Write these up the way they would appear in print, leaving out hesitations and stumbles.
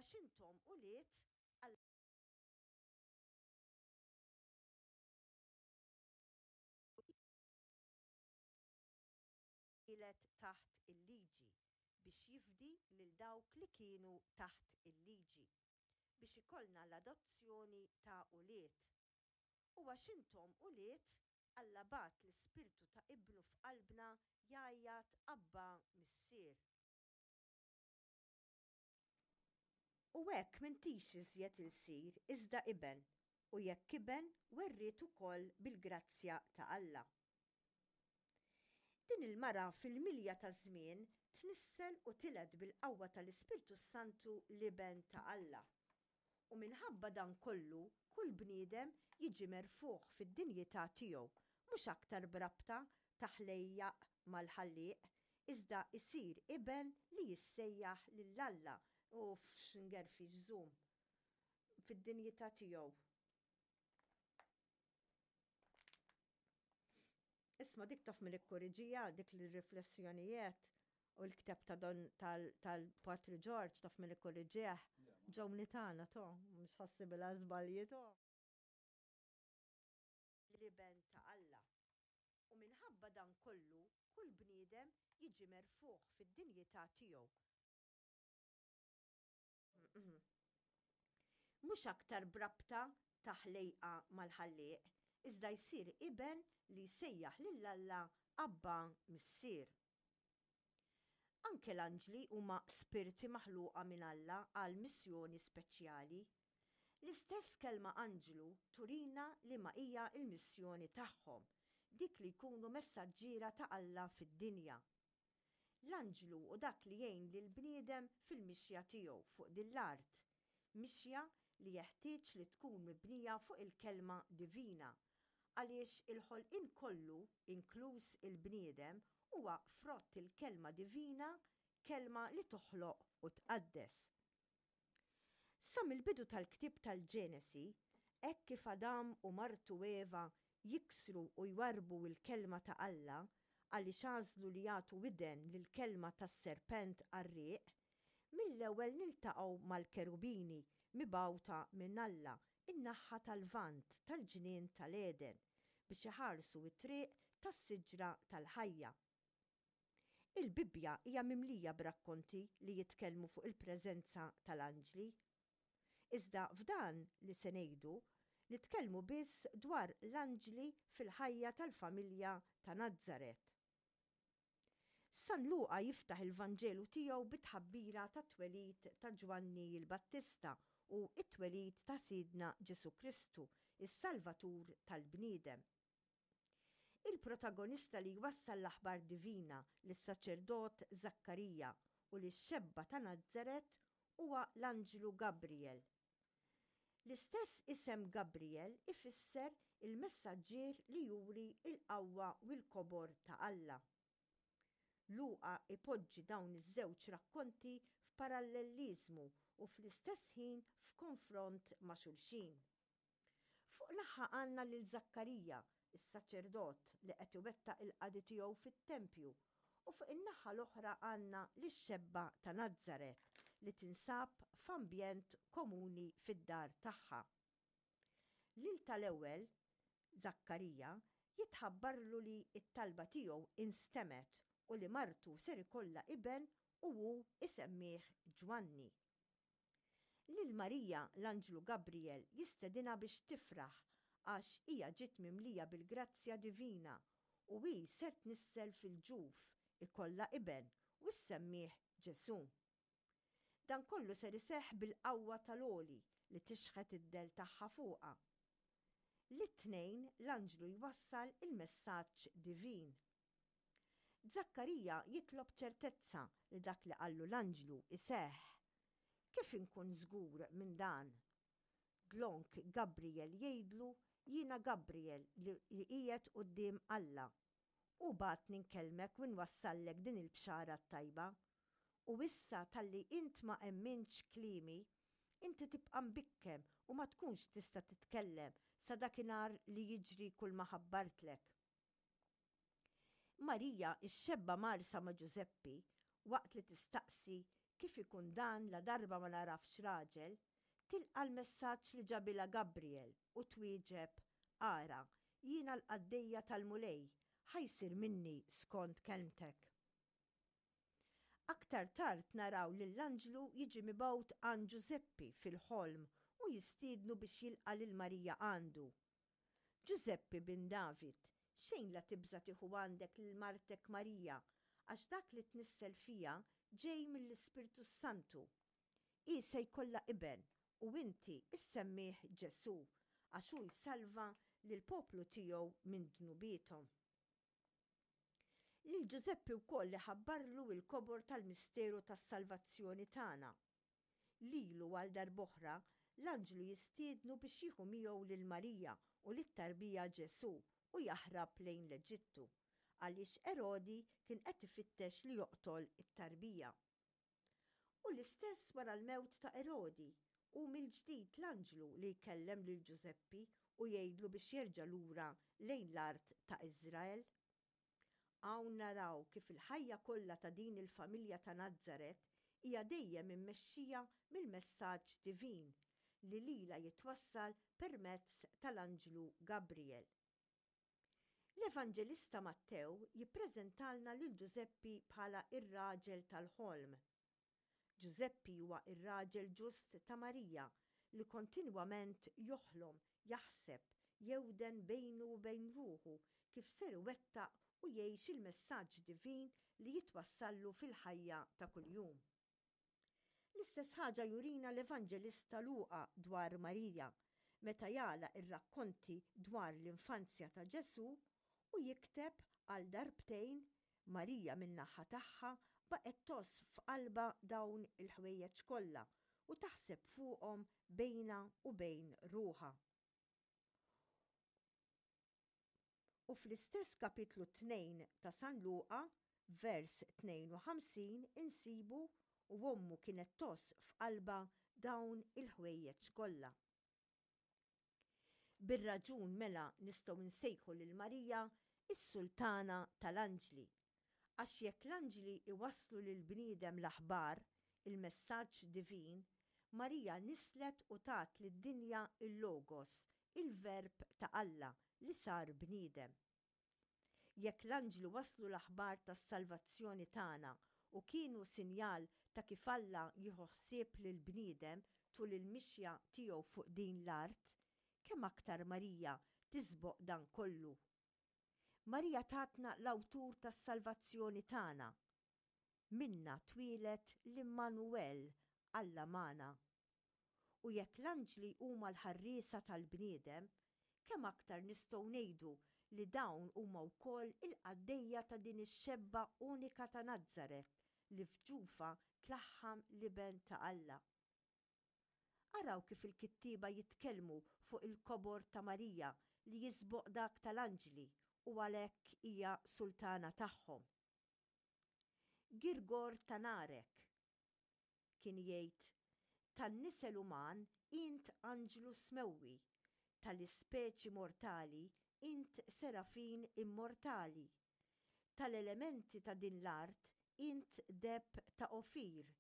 għax intom ulied Alla twieled taħt il-liġi biex jifdi lil dawk li kienu taħt il-liġi, biex ikollna l-adozzjoni ta' ulied. U għax intom ulied, Alla bagħat l-Ispirtu ta' Ibnu f'qalbna jgħajjat, Abbà, Missier. U hekk m'intix iżjed ilsir, iżda iben, u jekk iben, werriet ukoll bil-grazzja ta' Alla. Din il-mara fil-milja taż-żmien tnissel u tiled bil-qawwa tal-Ispirtu s-Santu l-Iben ta' Alla. U minħabba dan kollu kull bniedem jiġi merfugħ fid-dinjità tiegħu, mhux aktar b'rabta ta' ħlejjaq mal-Ħallieq, iżda jsir iben li jissejjaħ lil Alla, uff x'ngerfix żum, fid-dinjità tiegħu. Isma' dik taf min ikkoriġija dik l-riflessjonijiet u l-kteb ta' don tal-Patri George taf min ikkoriġih. Ġewni tagħna to, mhux ħassibilha żbalji to. L-Iben ta' Alla. U minħabba dan kollu kull bniedem jiġi merfugħ fid-dinjità tiegħu. Mhux aktar b'rabta ta' ħlejqa mal-Ħallieq, iżda jsir iben li jsejjaħ lil Alla Abbà Missier. Anke l-anġli huma spirti maħluqa minn Alla għal missjoni speċjali. L-istess kelma anġlu turina liema hija l-missjoni tagħhom, dik li jkunu messaġġiera ta' Alla fid-dinja. L-anġlu hu dak li jgħin lill-bniedem fil-mixja tiegħu fuq din l-art, mixja li jeħtieġ li tkun mibnija fuq il-Kelma divina, għaliex il-ħolqien kollu, inkluż il-bniedem, huwa frott il-Kelma divina, Kelma li toħloq u tqaddes. Sa mill-bidu tal-ktieb tal-Ġenesi, hekk kif Adam u martu Eva jiksru u jwarrbu l-kelma ta' Alla għaliex għażlu li jagħtu widen lill-kelma tas-serpent qarrieq, mill-ewwel niltaqgħu mal-kerubini mibgħuta minn Alla n-naħha tal-Lvant tal-ġnien tal-Għeden biex iħarsu t-triq tas-siġra tal-ħajja. Il-Bibbja hija mimlija b'rakkonti li jitkellmu fuq il-preżenza tal-anġli. Iżda f'dan li se ngħidu, nitkellmu biss dwar l-anġli fil-ħajja tal-familja ta' Nazaret. San Luqa jiftaħ il-Vanġelu tiegħu bit-tħabbira tat-twelid ta' Ġwanni l-Battista u t-twelid ta' Sidna Ġesù Kristu, is-Salvatur tal-bniedem. Il-protagonista li jwassal l-aħbar divina lis-saċerdot Żakkarija u lix-xebba ta' Nazaret huwa l-anġlu Gabriel. L-istess isem Gabriel ifisser il-messaġġier li juri l-qawwa u l-kobor ta' Alla. Luqa jpoġġi dawn iż-żewġ rakkonti f'parallelliżmu u fl-istess ħin f'konfront ma' xulxin. Fuq naħa għandna lil Żakkarija, is-saċerdot li qed iwettaq il-qadi tiegħu fit-tempju, u fuq in-naħa l-oħra għandna lix-xebba ta' Nazaret li tinsab f'ambjent komuni fid-dar tagħha. Lil tal-ewwel, Żakkarija, jitħabbarlu li t-talba tiegħu instemgħet u li martu ser ikollha iben u hu isemmih Ġwanni. Lil Marija l-anġlu Gabriel jistedinha biex tifraħ għax hija ġiet mimlija bil-grazzja divina u hi ser tnissel fil-ġuf, ikollha iben u ssemmih Ġesù. Dan kollu ser iseħħ bil-qawwa tal-Għoli li tixħet id-dell tagħha fuqha. Lit-tnejn l-anġlu jwassal il-messaġġ divin. Żakkarija jitlob ċertezza li dak li qallu l-anġlu jseħħ. Kif inkun żgur minn dan? Dlonk Gabriel jgħidlu, Jiena Gabriel li qiegħed quddiem Alla. Hu bagħatni nkellmek u nwassallek din il-bxara t-tajba. U issa talli int ma emmintx kliemi, inti tibqa' mbikkem u ma tkunx tista' titkellem sa dakinhar li jiġri kulma ħabbartlek. Marija, ix-xebba mgħarrsa ma' Ġużeppi, waqt li tistaqsi Kif ikun dan ladarba ma nagħrafx raġel? tilqa' l-messaġġ li ġabilha Gabriel u twieġeb, Ara, jiena l-qaddejja tal-Mulej, ħa jsir minni skont kelmtek. Aktar tard naraw lill-anġlu jiġi mibgħut għand Ġużeppi fil-ħolm u jistiednu biex jilqa' lil Marija għandu. Ġużeppi bin David, xejn la tibża' tieħu għandek lil martek Marija, għax dak li tnissel fiha ġej mill-Ispirtu s-Santu. Hi se jkollha iben, u inti issemmih Ġesù, għax hu jsalva lill-poplu tiegħu minn dnubiethom. Lil Ġużeppi wkoll iħabbarlu l-kobor tal-misteru tas-salvazzjoni tagħna. Lilu għal darb'oħra l-anġlu jistiednu biex jieħu miegħu lil Marija u lit-tarbija Ġesù u jaħrab lejn l-Eġittu, għaliex Erodi kien qed ifittex li joqtol it-tarbija. U l-istess wara l-mewt ta' Erodi, hu mill-ġdid l-anġlu li jkellem lil Ġużeppi u jgħidlu biex jerġa' lura lejn l-art ta' Iżrael. Hawn naraw kif il-ħajja kollha ta' din il-familja ta' Nazaret hija dejjem immexxija mill-messaġġ divin li lilha jitwassal permezz tal-anġlu Gabriel. L-Evanġelista Mattew jippreżentalna lil Ġużeppi bħala r-raġel tal-ħolm. Ġużeppi huwa r-raġel ġust ta' Marija li kontinwament joħlom, jaħseb, jewden bejnu u bejn ruħu kif ser iwettaq u jgħix il-messaġġ divin li jitwassallu fil-ħajja ta' kuljum. L-istess ħaġa jurina l-Evanġelista Luqa dwar Marija meta jagħlaq ir-rakkonti dwar l-infanzja ta' Ġesù u jikteb għal darbtejn, Marija min-naħa tagħha baqgħet tgħożż f'qalbha dawn il-ħwejjeġ kollha u taħseb fuqhom bejnha u bejn ruħha. U fl-istess kapitlu 2 ta' San Luqa, vers 52 insibu u ommu kienet tgħożż f'qalbha dawn il-ħwejjeġ kollha. Bir-raġun mela nistgħu nsejħu lil Marija s-Sultana tal-Anġli. Għax jekk l-anġli iwasslu lill-bniedem l-aħbar, il-messaġġ divin, Marija nisslet u tat lid-dinja l-Logos, il-Verb ta' Alla li sar bniedem. Jekk l-anġli wasslu l-aħbar tas-salvazzjoni tagħna u kienu sinjal ta' kif Alla jieħu ħsieb lill-bniedem tul il-mixja tiegħu fuq din l-art, kemm aktar Marija tisboq dan kollu? Marija tatna l-awtur tas-salvazzjoni tagħna. Minnha twieled l-Immanuwel, Alla magħna. U jekk l-anġli huma l-ħarriesa tal-bniedem, kemm aktar nistgħu ngħidu li dawn huma wkoll il-qaddejja ta' din ix-xebba unika ta' Nazaret li f'ġufha tlaħħam l-Iben ta' Alla. Araw kif il-kittieba jitkellmu fuq il-kobor ta' Marija li jisboq dak tal-anġli u għalhekk hija sultana tagħhom. Girgor ta' Narek kien jgħid, Tan-nisel uman int anġlu smewwi, tal-ispeċi mortali int serafin immortali, tal-elementi ta' din l-art int deheb ta' Ofir,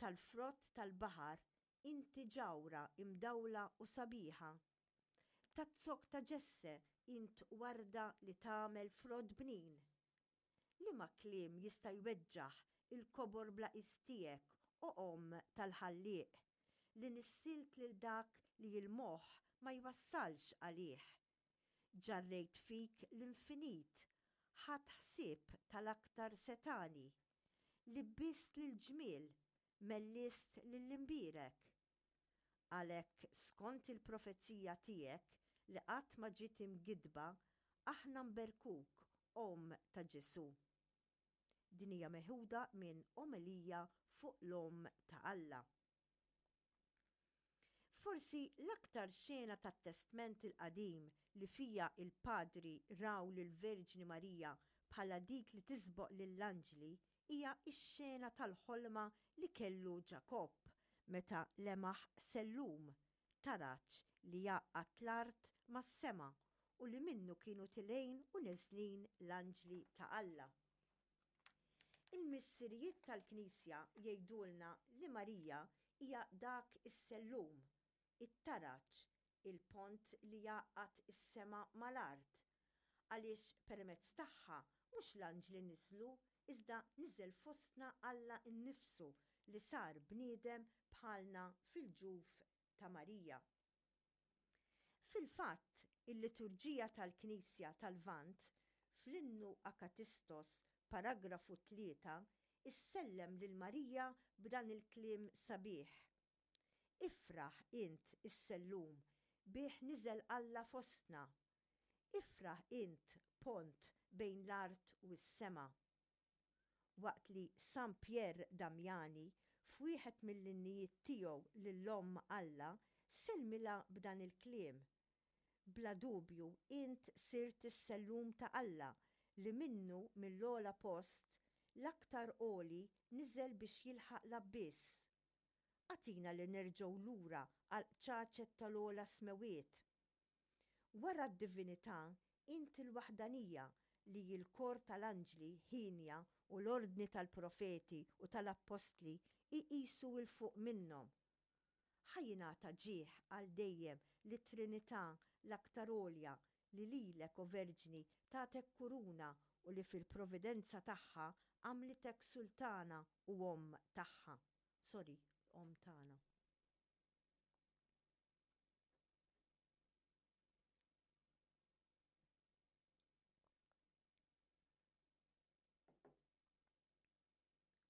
Tal-frott tal-baħar inti ġawhra imdawla u sabiħa. Taz-zokk ta' Ġesse int warda li tagħmel frott bnin. Liema kliem jista' jweġġaħ il-kobor bla qies tiegħek, o Omm tal-Ħallieq, li nissilt lil dak li l-moħħ ma jwassalx għalih? Ġarrejt fik l-infinit, ħadt ħsieb tal-aktar setgħani. Libbist lill-ġmiel, mellist lill-imbierek. Għalhekk skont il-profezija tiegħek li qatt ma ġiet imgiddba, aħna nberkuk, Omm ta' Ġesù. Din hija meħuda minn Omelija fuq l-Omm ta' Alla. Forsi l-aktar xena tat-Testment il-Qadim li fiha l-Padri raw lill-Verġni Marija bħala dik li tisboq lill-anġli hija x-xena tal-ħolma li kellu Ġakobb meta lemaħ sellum, taraġ li jgħaqqad l-art mas-sema u li minnu kienu tilgħin u neżlin l-anġli ta' Alla. Il-Missirijiet tal-Knisja jgħidulna li Marija hija dak is-sellum, it-taraġ, il-pont li jgħaqqad is-sema mal-art, għaliex permezz tagħha mhux l-anġli niżlu iżda niżel fostna Alla nnifsu li sar bniedem bħalna fil-ġuf ta' Marija. Fil-fatt, il-liturġija tal-Knisja tal-Lvant, fl-Innu Akatistos, paragrafu 3, issellem lil Marija b'dan il-kliem sabiħ, Ifraħ int is-sellum, bih niżel Alla fostna. Ifraħ int pont bejn l-art u s-sema. Waqt li San Pierre Damiani f'wieħed mill-innijiet tiegħu lil Omm Alla sellmilha b'dan il-kliem, Bla dubju int sirt is-sellum ta' Alla li minnu mill-ogħla post, l-aktar għoli niżel biex jilħaq l-abbiss. Agħtina li nerġgħu lura għall-qċaċet tal-ogħla smewwiet. Wara d-divinità, int il-waħdanija li l-kor tal-anġli hienja u l-ordni tal-profeti u tal-appostli jqisu 'l fuq minnhom. Ħa jingħata ġieħ għal dejjem lit-Trinità l-aktar għolja li lilek, o Verġni, tatek kuruna u li fil-providenza tagħha għamlitek sultana u omm tagħha. Sorry, omm tagħna.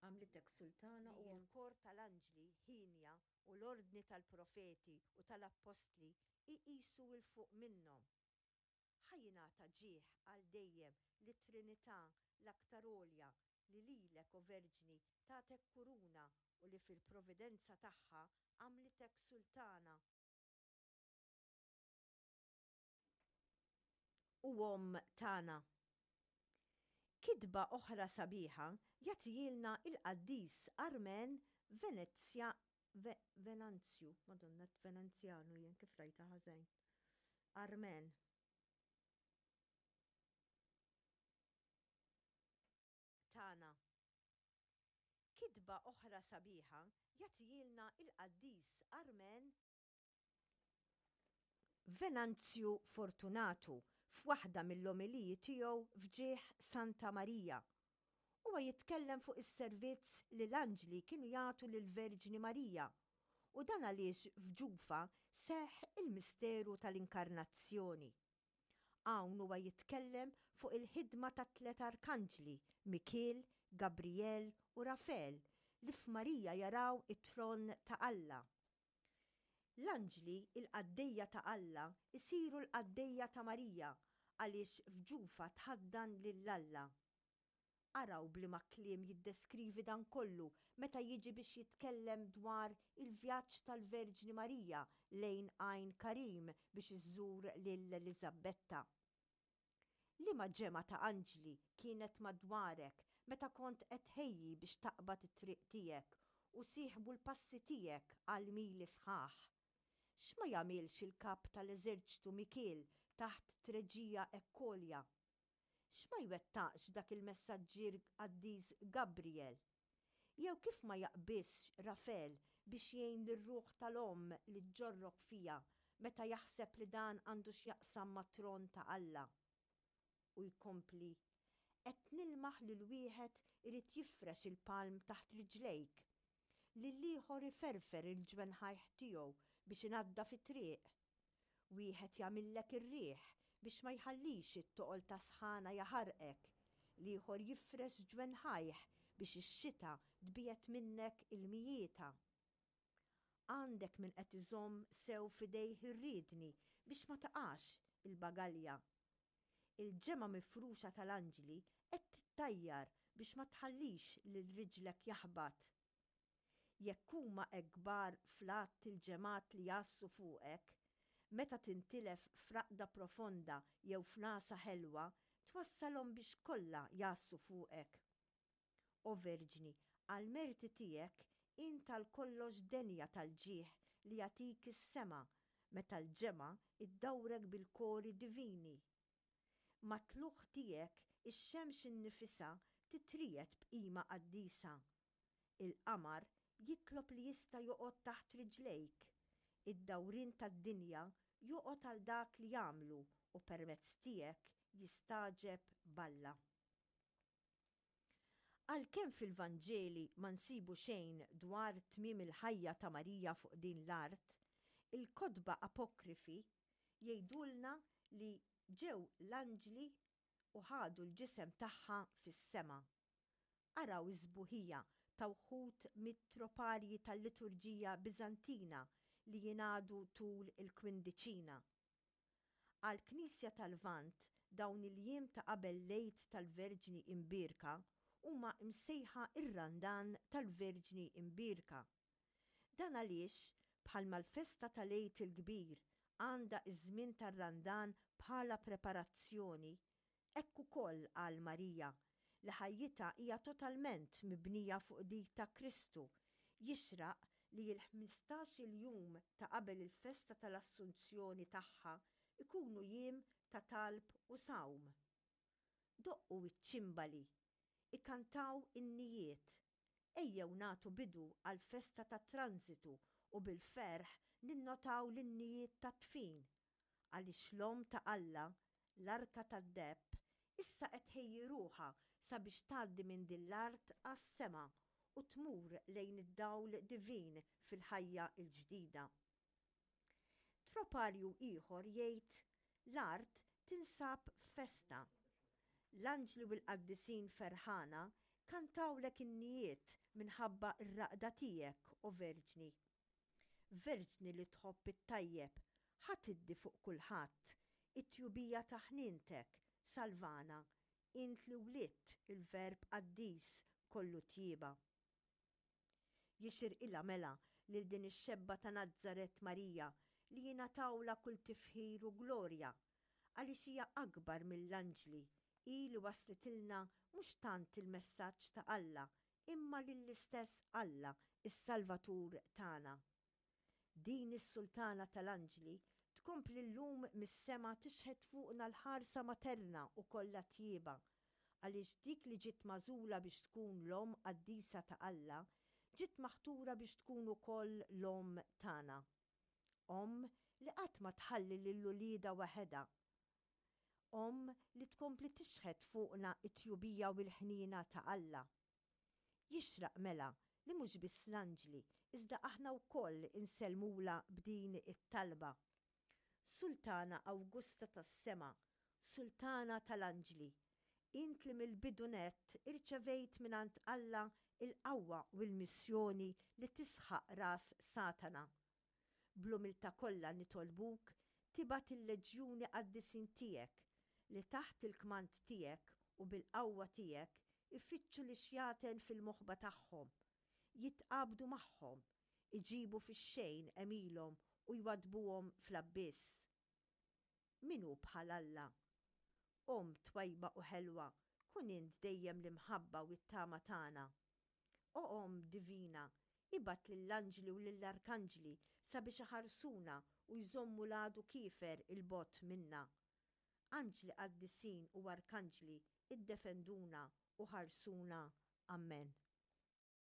Għamlitek sultana u l-kor tal-anġli hienja u l-ordni tal-profeti u tal-appostli jqisu 'l fuq minnhom. Ħa jingħata ġieħ għal dejjem lit-Trinità l-aktar għolja li lilek, o Verġni, tatek kuruna u li fil-providenza tagħha għamlitek sultana u Omm tagħna. Kitba oħra sabiħa jagħtihielna l-qaddis Armen Venezja Venanzju, Madonna Venanzjanu jien kif rajtha ħażin. Armen. Tagħna. Kitba oħra sabiħa jagħtihielna l-qaddis Armen Venanzju Fortunatu f'waħda mill-omeliji tiegħu f'ġieħ Santa Marija. Huwa jitkellem fuq is-servizz li l-anġli kienu jagħtu lill-Verġni Marija u dan għaliex f'ġufha seħħ il-misteru tal-Inkarnazzjoni. Hawn huwa jitkellem fuq il-ħidma tat-tliet arkanġli, Mikiel, Gabrijel u Rafel, li f'Marija jaraw it-tron ta' Alla. L-anġli, il-qaddejja ta' Alla, isiru l-qaddejja ta' Marija għaliex f'ġufha tħaddan lil Alla. Araw b'liema kliem jiddeskrivi dan kollu meta jiġi biex jitkellem dwar il-vjaġġ tal-Verġni Marija lejn Għajn Karim biex iżżur lil Eliżabbetta. Liema ġemgħa ta' anġli kienet madwarek meta kont qed tħejji biex taqbad it-triq tiegħek u sieħbu l-passi tiegħek għal mili sħaħ? X'ma jagħmilx il-kap tal-eżerċtu Mikiel taħt treġija hekk għolja? X'ma jwettaqx dak il-messaġġier qaddis Gabriel? Jew kif ma jaqbiżx Rafel biex jgħin lir-ruħ tal-omm li ġġorrok fiha meta jaħseb li dan għandu x'jaqsam mat-tron ta' Alla? U jkompli, Qed nilmaħ lil wieħed irid jifrex il-palm taħt riġlejk, lill-ieħor iferfer il-ġwenħajh tiegħu biex inaddaf it-triq, Wieħed jagħmillek ir-riħ biex ma jħallix it-toqol tas-sħana jaħarqek, l-ieħor jifrex ġwenħajh biex ix-xita tbiegħed minnek il-mijieta. Għandek min qed iżomm sew f'idejh ir-riedni biex ma taqax il-bagalja. Il-ġemgħa mifruxa tal-anġli qed tittajjar biex ma tħallix lil riġlek jaħbat. Jekk huma hekk kbar fl-għadd il-ġemgħat li jgħassu fuqek, meta tintilef f'raqda profonda jew f'nagħsa ħelwa, twassalhom biex kollha jgħassu fuqek. O Verġni, għall-merti tiegħek int għal kollox denja tal-ġieħ li jagħtik is-sema meta l-ġemgħa ddawrek bil-kori divini. Mat-tlugħ tiegħek ix-xemx innifisha. titriegħed b'qima qaddisa. Il-qamar jitlob li jista' joqgħod taħt riġlejk. Id-dawrien tad-dinja joqgħod għal dak li jagħmlu u permezz tiegħek jistagħġeb b'Alla. Għalkemm fil-Vanġeli ma nsibu xejn dwar tmiem il-ħajja ta' Marija fuq din l-art, il-kotba apokrifi jgħidulna li ġew l-anġli u ħadu l-ġisem tagħha fis-sema. Araw is-sbuħija ta' wħud mit-troparji tal-liturġija Biżantina li jingħadu tul il-Kwindiċina. Għall-Knisja tal-Lvant dawn il-jiem ta' qabel l-Għid tal-Verġni Imbierka huma msejħa r-Randan tal-Verġni Imbierka. Dan għaliex, bħalma l-festa tal-Għid il-Kbir għandha ż-żmien tar-Randan bħala preparazzjoni, hekk ukoll għal Marija, li ħajjitha hija totalment mibnija fuq dik ta' Kristu, jixraq li l-ħmistax-il jum ta' qabel il-festa tal-Assunzjoni tagħha jkunu jiem ta' talb u sawm. Doqqu ċ-ċimbali, ikantaw innijiet, ejjew nagħtu bidu għall-festa tat-Transitu u bil-ferħ ninnotaw l-innijiet tat-dfin, għaliex l-Omm ta' Alla, l-Arka tad-Deheb, issa qed tħejji ruħha sabiex tgħaddi minn din l-art għas-sema u tmur lejn id-dawl divin fil-ħajja l-ġdida. Troparju ieħor jgħid, L-art tinsab f'festa. L-anġli u l-qaddisin ferħana kantawlek innijiet minħabba r-raqda tiegħek, o Verġni. Verġni li tħobb it-tajjeb, ħa tiddi fuq kulħadd it-tjubija ta' ħnientek, salvana, int li wlidt il-Verb qaddis kollu tjieba. Jixirqilha mela lil din ix-xebba ta' Nazaret Marija li jingħatawlha kull tifħir u glorja, għaliex hija akbar mill-anġli, hi li wasslitilna mhux tant il-messaġġ ta' Alla imma lill-istess Alla, is-Salvatur tagħna. Din is-Sultana tal-anġli tkompli llum mis-sema tixħet fuqna l-ħarsa materna u kollha tjieba, għaliex dik li ġiet magħżula biex tkun l-Omm qaddisa ta' Alla, ġiet maħtura biex tkun ukoll l-Omm tagħna. Omm li qatt ma tħalli lil uliedha waħedha. Omm li tkompli tixħet fuqna t-tjubija u l-ħniena ta' Alla. Jixraq mela li mhux biss l-anġli, iżda aħna wkoll insellmulha b'din it-talba, Sultana Awgusta tas-sema, Sultana tal-anġli, int li mill-bidu nett irċevejt mingħand Alla l-qawwa u l-missjoni li tisħaq ras Satana. Bl-umiltà kollha nitolbuk tibgħat il-leġjuni qaddisin tiegħek li taħt il-kmand tiegħek u bil-qawwa tiegħek ifittxu lix-xjaten fil-moħba tagħhom, jitqabdu magħhom, iġibu fix-xejn għemilhom u jwaddbuhom fl-abbiss. Min hu bħal Alla? Omm twajba u ħelwa, kun int dejjem l-imħabba u t-tama tagħna. O Omm Divina, ibgħat lill-anġli u lill-arkanġli sabiex iħarsuna u jżommu l-għadu kiefer 'il bogħod minna. Anġli qaddisin u arkanġli, iddefenduna u ħarsuna. Ammen.